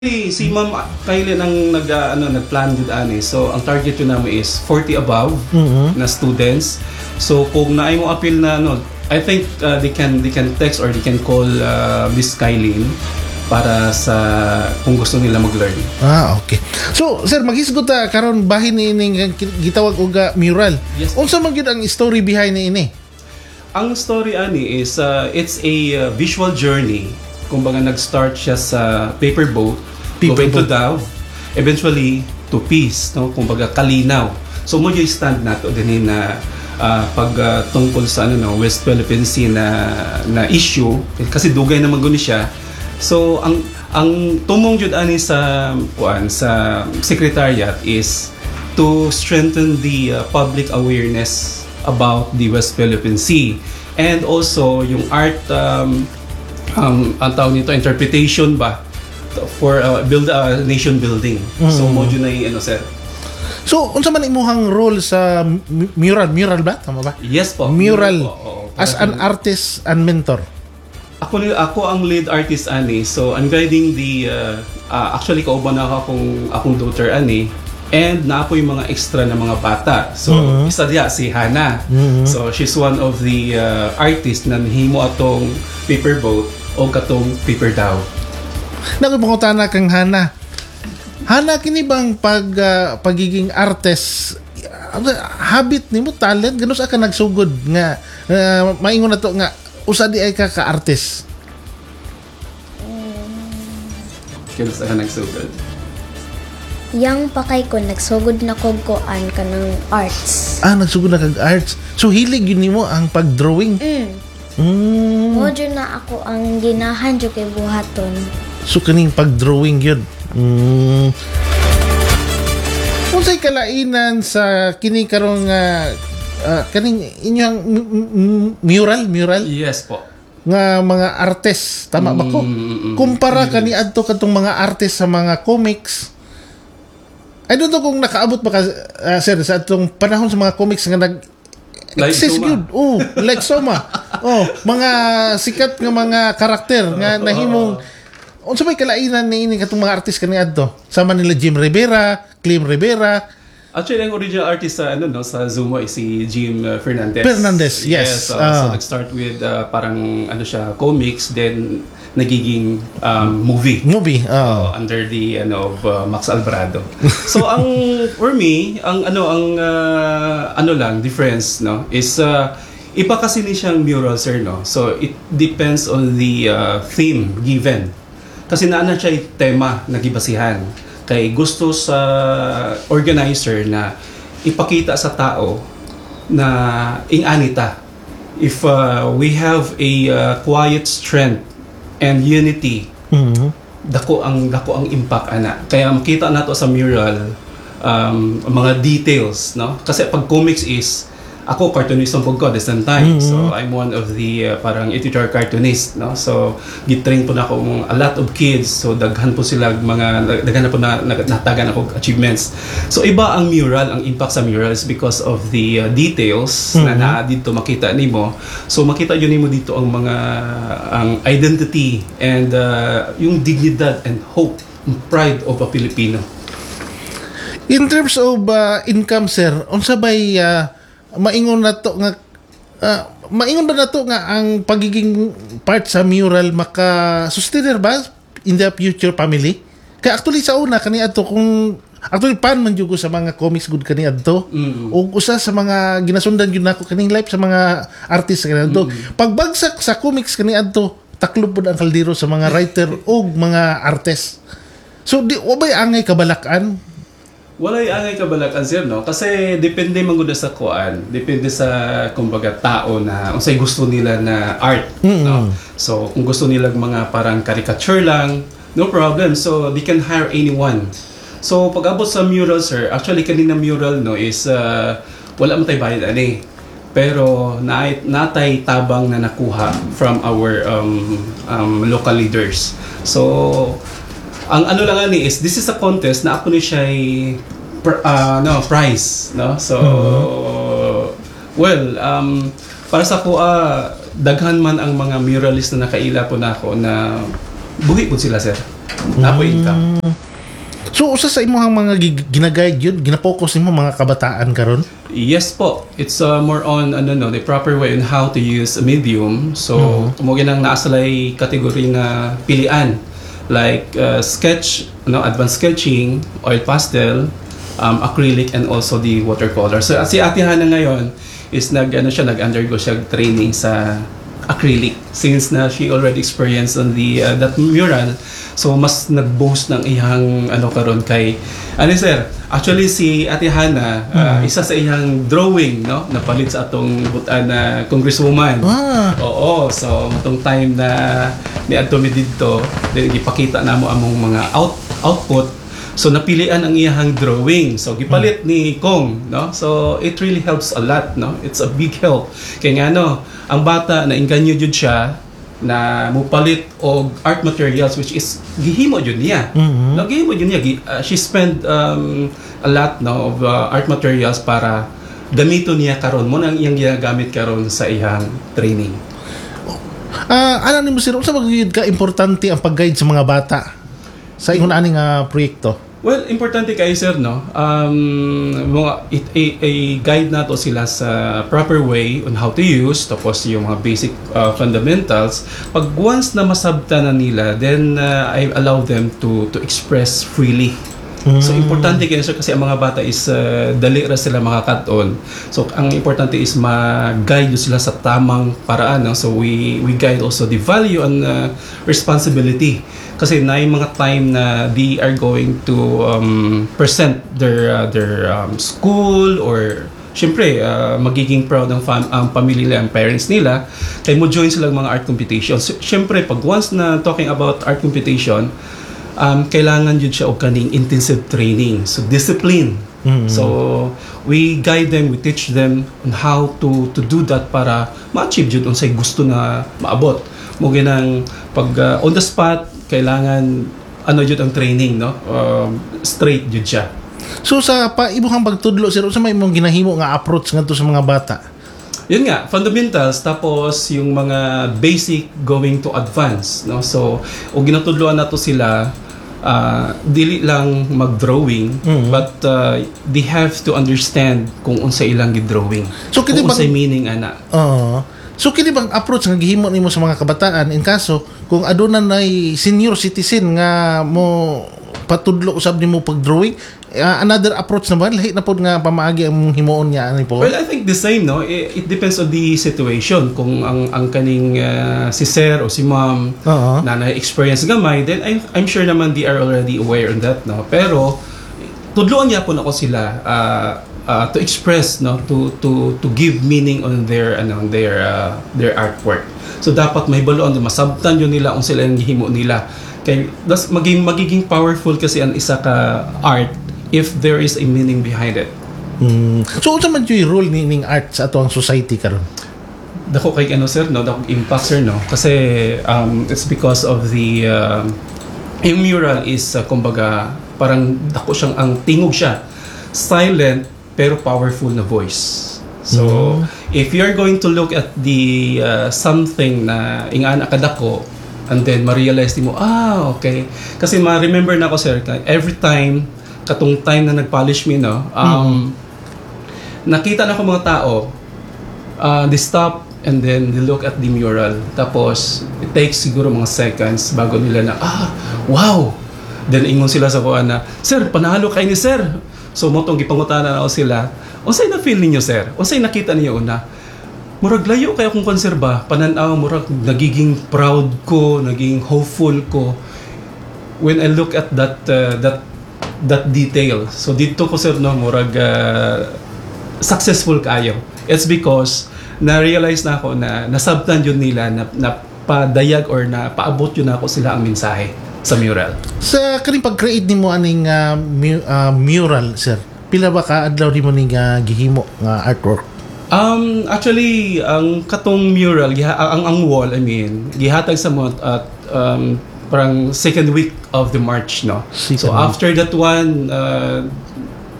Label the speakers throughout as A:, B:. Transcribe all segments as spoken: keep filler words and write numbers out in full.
A: Si Ma'am Kylie ang nag uh, ano, nagplan jud ani. So ang target yun namin is forty above na students. So kung naay mo appeal na ano, I think uh, they can they can text or they can call uh, Miss Kylene para sa kung gusto nila mag-learn.
B: Ah, okay. So, sir, maghisgot ta karon bahin ni ining gitawag og ah, mural.
A: Yes.
B: Unsa man gyud ang story behind ni ini?
A: Ang story ani is uh, it's a uh, visual journey. Kumbaga nag-start siya sa paper boat,
B: Paper
A: going to
B: boat.
A: Dove, eventually to peace, no? Kumbaga kalinaw. So mo yung stand nato din na uh, pag uh, tungkol sa ano, no, West Philippine Sea na na issue kasi dugay naman guni siya. So ang ang tumong jud ani sa kuan sa secretariat is to strengthen the uh, public awareness about the West Philippine Sea and also yung art, um, um, ang tawag nito, interpretation ba for uh, build uh, nation building. So mo jud na yung ano, sir.
B: So, unsa man imuhang role sa mu- mural? Mural ba? Tama ba?
A: Yes po.
B: Mural.
A: Po, oo.
B: As an artist and mentor.
A: Ako ni ako ang lead artist ani. So I'm guiding the uh, uh, actually kauban na ako akong akong daughter ani and naa po yung mga extra na mga bata. So isa diya si Hana. So she's one of the uh, artists na nihimo atong paper boat o katong paper dhow.
B: Nagpangutana kang Hana. Hana, kini bang pag ah, pagiging artist ah, habit nimo, talent, ganun sa ka nagsugod nga ah, maingon na to nga usa di ay ka ka artist?
A: Kaya sa ka nagsugod?
C: Young pa kay ko, nagsugod na kog kuan, kanang arts.
B: Ah, nagsugod na kag arts. So hilig yun nimo ang pag-drawing.
C: Mm.
B: Mm.
C: Mo jud na ako ang ginahan jud kay buhaton.
B: So kaning pag-drawing yun. Mm. Unsay kalainan sa kini karong uh, ah, kaning inyong m- m- mural mural
A: Yes po.
B: Nga mga artist, tama ba ko?
A: Mm, mm, mm.
B: Kumpara kani adto katong mga artist sa mga comics. I don't know kung nakaabot ba ka, ah, sir, sa atong panahon sa mga comics nga nag
A: Like
B: exist
A: Soma.
B: gyud. Oh, like Soma. Oh, mga sikat nga mga karakter nga nahimong. Unsa may kalainan ni ini katong mga artist kani adto? Sama nila Jim Rivera, Clem Rivera.
A: Actually, ang original artist sa ano, no, sa Zuma is si Jim uh, Fernandez.
B: Fernandez, yes.
A: uh,
B: Ah.
A: So nag-start with uh, parang ano siya, comics, then nagiging um, movie.
B: Movie. Oh.
A: Under the ano of uh, Max Alvarado. So ang for me, ang ano ang uh, ano lang difference, no, is uh, iba kasi ni siyang mural, sir, no. So it depends on the uh, theme given. Kasi naa na siya yung tema na gibasihan. Kay gusto sa organizer na ipakita sa tao na ing-anita. If uh, we have a uh, quiet strength and unity,
B: Mhm.
A: dako ang dako ang impact ana. Kaya makita nato sa mural um, mga details, no, kasi pag comics is ako cartoonist ang pud ko at the same time. So I'm one of the uh, parang editor cartoonist, no? So gitrain po na ako a lot of kids. So daghan po sila mga daghan na po na, na natagan ako achievements. So iba ang mural, ang impact sa mural is because of the uh, details na naa dito, makita nimo. So makita yun nimo dito ang mga ang identity and uh, yung dignidad and hope and pride of a Filipino.
B: In terms of uh, income, sir, unsa bay uh, maingon na to nga uh, maingon ba nato nga ang pagiging part sa mural maka sustainer ba in the future family? Kay actually sa una kani adto, kung actually fan man jud ko sa mga comics gud kani adto.
A: Mm.
B: Ug usa sa mga ginasundan gyud nako kaning life sa mga artist kani adto. Pagbagsak sa comics kani adto, taklob pud ang kaldero sa mga writer ug mga artist. So di wa bay angay kabalakan?
A: Walay angay kabalakan, sir, no? Kasi depende man gud sa kuan, depende sa kumbaga tao na unsay gusto nila na art, no? So kung gusto nila mga parang caricature lang, no problem. So they can hire anyone. So pag abot sa mural, sir, actually kanina mural, no, is uh, wala man tay bayad ani. Pero na natay tabang na nakuha from our um, um, local leaders. So ang ano lang ani is this is a contest na ako ni siya pr- ah, no prize, no? So well, um para sa ako, ah, daghan man ang mga muralist na nakaila po na ako na buhi po sila, sir. Naa poy income.
B: So usa sa imong mga gi- gina-guide yun, gina-focus nimo mga kabataan karon?
A: Yes po. It's uh, more on ano no, the proper way on how to use a medium. So, mm-hmm. mo ginang naa sila'y category nga pilian like uh, sketch, no, advanced sketching, oil pastel, um, acrylic and also the watercolor. So si Ate Hana ngayon is nag ano siya nag-undergo siya training sa acrylic since na she already experienced on the uh, that mural so mas nag-boost ng iyang ano karon kay ano sir actually si Ate Hana uh, isa sa iyang drawing no napalit sa atong butan na congresswoman
B: Ah.
A: Oo, so matong time na niadto mi didto, then gipakita namo among mga out output. So napilian ang iyang drawing. So gipalit ni Kong, no? So it really helps a lot, no? It's a big help. Kay ngano, ang bata na inganyo jud siya na mupalit og art materials which is gihimo jud niya.
B: Mhm.
A: No, gihimo jud niya. Gi- uh, she spent um, a lot no of uh, art materials para gamiton niya karon mo nang iyang ginagamit karon sa iyang training.
B: Ah, ano nimo sir, unsa ba gyud ka importante ang pag-guide sa mga bata sa ingon ani nga proyekto?
A: Well, importante kay sir no. Um mga it, a, a guide nato sila sa proper way on how to use tapos yung mga basic uh, fundamentals. Pag once na masabta na nila, then uh, I allow them to to express freely. So importante kayo sir kasi ang mga bata is uh, dali ra sila makakat-on. So ang importante is ma-guide sila sa tamang paraan no? So we we guide also the value and uh, responsibility kasi na yung mga time na they are going to um, present their uh, their um, school or Siyempre, uh, magiging proud ang, fam- ang pamilya nila, ang parents nila, kay mo join sila mga art competition. So, Siyempre, pag once na talking about art competition, um, kailangan yun siya og kaning intensive training. So, discipline. So, we guide them, we teach them on how to to do that para ma-achieve jud unsay gusto na maabot. Mo ginang pag uh, on the spot, kailangan ano jud ang training, no? Um, straight jud siya.
B: So sa pa imong pagtudlo sir, unsa may imong ginahimo nga approach ngadto sa mga bata?
A: Yun nga, fundamentals tapos yung mga basic going to advance, no? So, o ginatudloan nato sila uh, dili lang mag-drawing but uh, they have to understand kung unsa ilang gi-drawing.
B: So, kini
A: kung
B: bang-
A: unsay meaning ana.
B: Oo. So kini bang approach nga gihimo nimo sa mga kabataan in kaso kung aduna nay senior citizen nga mo patudlo usab nimo pag-drawing uh, another approach na ba lahi na pod nga pamaagi ang himuon niya ani po
A: Well, I think the same, no? It, it depends on the situation. Kung ang ang kaning uh, si sir o si ma'am
B: Oo.
A: na na-experience gamay, then I'm, I'm sure naman they are already aware on that, no? Pero tudloan niya po nako sila uh, uh, to express, no? To to to give meaning on their ano, on their uh, their artwork. So dapat mahibaluan masabtan yun nila kung sila yung gihimo nila. Kay das maging magiging powerful kasi ang isa ka art if there is a meaning behind it.
B: Mm. So unsa man yung role ni ning art sa ato ang society karon?
A: dako kay ano sir no dako impact sir no kasi um, it's because of the um, yung mural is uh, kumbaga parang dako siyang ang tingog siya silent pero powerful na voice so if you're going to look at the uh, something na ingana kadako and then ma-realize mo ah okay kasi ma-remember na ako sir every time katong time na nag-polish me no um, nakita na ko mga tao uh, they stop and then they look at the mural. Tapos, it takes siguro mga seconds bago nila na, ah, wow! Then ingon sila sa kuan na, Sir, panalo kay ni sir. So, mo tong gipangutana na ako sila, unsay na feel ninyo, sir? Unsay nakita ninyo una? Murag layo kayo kung konserba, pananaw, murag nagiging proud ko, nagiging hopeful ko when I look at that uh, that that detail. So dito ko sir no murag uh, successful kayo. It's because na-realize na ako na nasabtan yun nila na, na padayag or na paabot yun ako sila ang mensahe sa mural.
B: Sa kaning pag-create nimo aning uh, mu- uh, mural sir, pila ba ka adlaw nimo ning uh, gihimo nga artwork?
A: Um, actually, ang katong mural, giha, ang, ang wall, I mean, gihatag sa mo at um, parang second week of the March, no?
B: Second
A: so
B: week.
A: after that one, uh,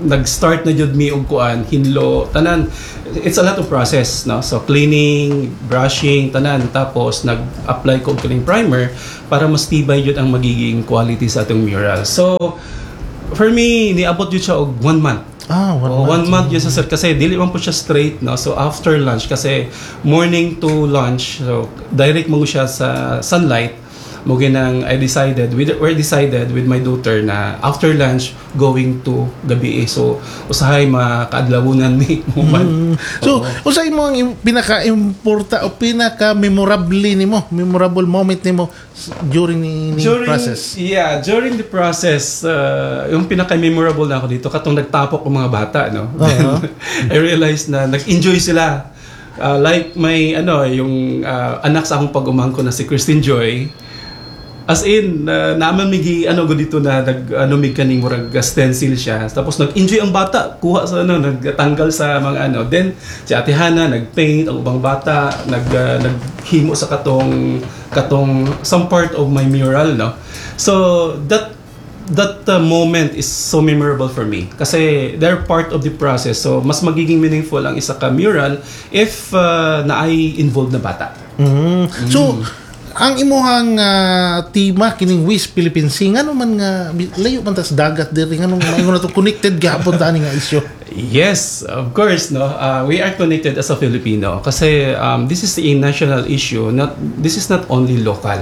A: nag-start na jud mi og kuan, hinlo, tanan. It's a lot of process, no? So cleaning, brushing, tanan, tapos nag-apply ko og kining primer para mas tibay jud ang magiging quality sa atong mural. So for me, niabot jud siya og one month.
B: Ah, one
A: Oh,
B: month.
A: One month yun sa, sir, kasi dili man po siya straight, no? So after lunch, kasi morning to lunch, so direct mo siya sa sunlight mo. Ginang I decided with we decided with my daughter na after lunch going to gabi eh. So usahay makaadlawunan mi mo man.
B: Mm. So, unsa imo ang im- pinaka-importa o pinaka-memorable nimo, memorable moment nimo s- during ni, ni
A: during
B: process?
A: Yeah, during the process, uh, yung pinaka-memorable na ako dito, katong nagtapok ang mga bata, no? Then, I realized na nag-enjoy sila. Uh, like may ano, yung uh, anak sa akong pag-umangko na si Christine Joy, as in, uh, naman migi ano go dito na nag ano mig kaning murag stencil siya. Tapos nag-enjoy ang bata, kuha sa ano, nagtanggal sa mga ano. Then si Ate Hana nag-paint, ang ubang bata nag uh, naghimo sa katong katong some part of my mural, no. So that that uh, moment is so memorable for me kasi they're part of the process. So mas magiging meaningful ang isa ka mural if uh, naay involved na bata.
B: Mm. So, ang imuhang ah, tema kining West Philippine Sea, ngano man nga layo man tas dagat diri, nganong maingon na to connected gihapon ta ani nga issue?
A: Yes, of course, no. Uh, we are connected as a Filipino kasi um, this is a national issue. Not this is not only local.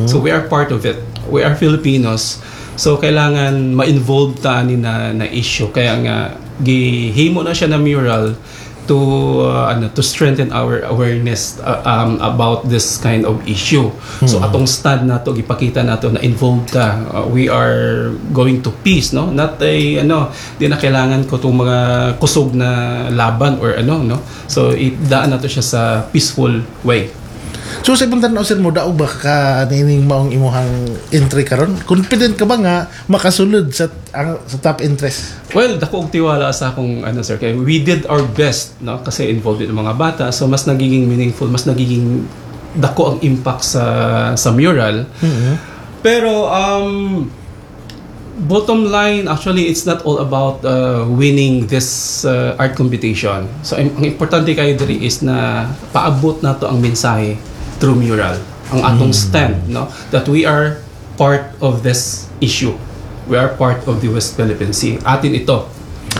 A: So we are part of it. We are Filipinos. So kailangan ma-involve ta ani na na issue. Kaya nga gihimo na siya na mural to uh, ano to strengthen our awareness uh, um, about this kind of issue. So atong stand nato, gipakita nato na involved ta. Uh, we are going to peace, no? Not a ano, di na kailangan ko tong mga kusog na laban or ano, no? So idaan nato siya sa peaceful way.
B: So sa ibang tan-aw, sir, mo daog ba ka nining maong imuhang entry karon? Confident ka ba nga makasulod sa ang, sa top interest?
A: Well, dako og tiwala sa akong ano, sir, kay we did our best, no, kasi involved din ang mga bata, so mas nagiging meaningful, mas nagiging dako ang impact sa sa mural. Pero um bottom line, actually, it's not all about uh, winning this uh, art competition. So ang ang importante kayo diri is na paabot nato ang mensahe through mural, ang atong stand, no, that we are part of this issue. We are part of the West Philippine Sea. Atin ito.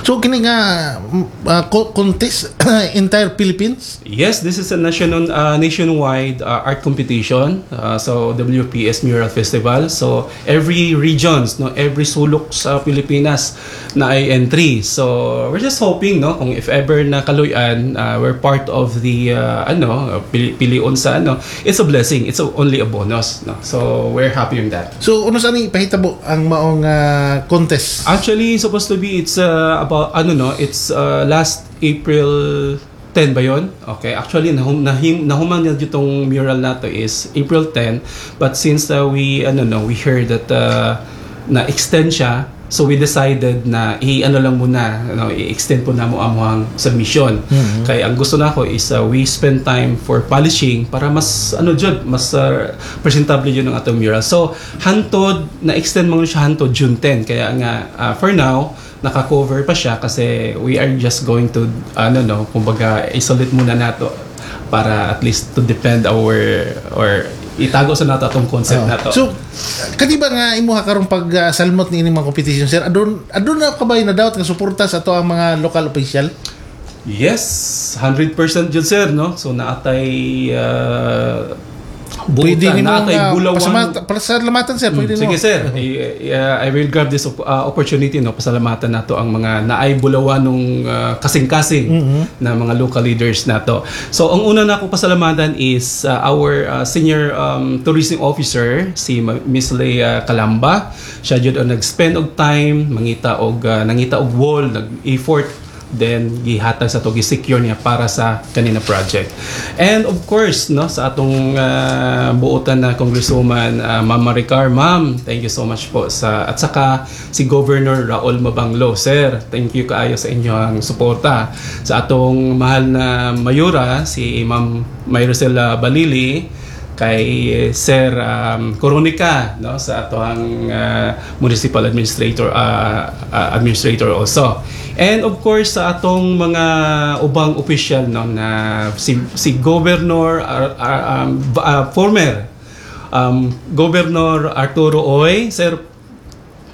B: So kini nga mm, uh, co- contest entire Philippines?
A: Yes, this is a national uh, nationwide uh, art competition. Uh, so W P S Mural Festival. So every regions, no, every sulok sa Pilipinas na ay entry. So we're just hoping, no, kung if ever na kaluyan, uh, we're part of the uh, ano, pili pilion sa ano, it's a blessing. It's a, only a bonus, no. So we're happy with that.
B: So ano sa ni pahitabo ang maong uh, contest?
A: Actually, supposed to be it's uh, about ano, no, it's uh, last April ten ba yon? Okay, actually nahum, nahim, nahuman na itong mural nato is April ten, but since uh, we ano, no, we heard that uh, na extend siya, so we decided na i-ano lang muna, ano, i-extend po na mo ang submission. Kaya ang gusto nako is uh, we spend time for polishing para mas ano jud, mas uh, presentable yun ang atong mural. So hantod na extend mo siya hantod June ten. Kaya nga uh, for now naka-cover pa siya kasi we are just going to ano, no, kumbaga isolate muna nato para at least to defend our or itago sa nato atong concept
B: Oh.
A: nato.
B: So, kadi ba nga imuha karong pag uh, salmot ni ining mga competition, sir? Adun adun na ka ba na dapat nga suporta sa ato ang mga local official?
A: Yes, one hundred percent jud, sir, no? So naatay uh,
B: Pwede
A: buutan,
B: nimo
A: naatay
B: nga
A: bulawan.
B: pasamat- pasalamatan, sir, pwede
A: Sige
B: nimo.
A: sir, I, I- I will grab this op- uh, opportunity, no, pasalamatan nato ang mga naay bulawanong uh, kasing-kasing na mga local leaders nato. So ang una na ako pasalamatan is uh, our uh, senior um, tourism officer, si Ma- Miss Leia Calamba. Siya jud ang nag-spend og time mangita og uh, nangita og wall, nag-effort, then gihatag sa to, gi-secure niya para sa kanina project. And of course, no, sa atong uh, buotan na Congresswoman uh, Ma'am Maricar, Ma'am, thank you so much po sa at saka si Governor Raul Mabanglo, sir, thank you kaayo sa inyong suporta. Sa atong mahal na mayora, si Ma'am Mayrosela Balili, Kay Sir um, Coronica, no, sa atoang uh, municipal administrator uh, uh, administrator also. And of course sa atong mga ubang official, no, na si si Governor uh, uh, um, uh, former um, Governor Arturo Uy, Sir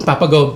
A: Papa Gob.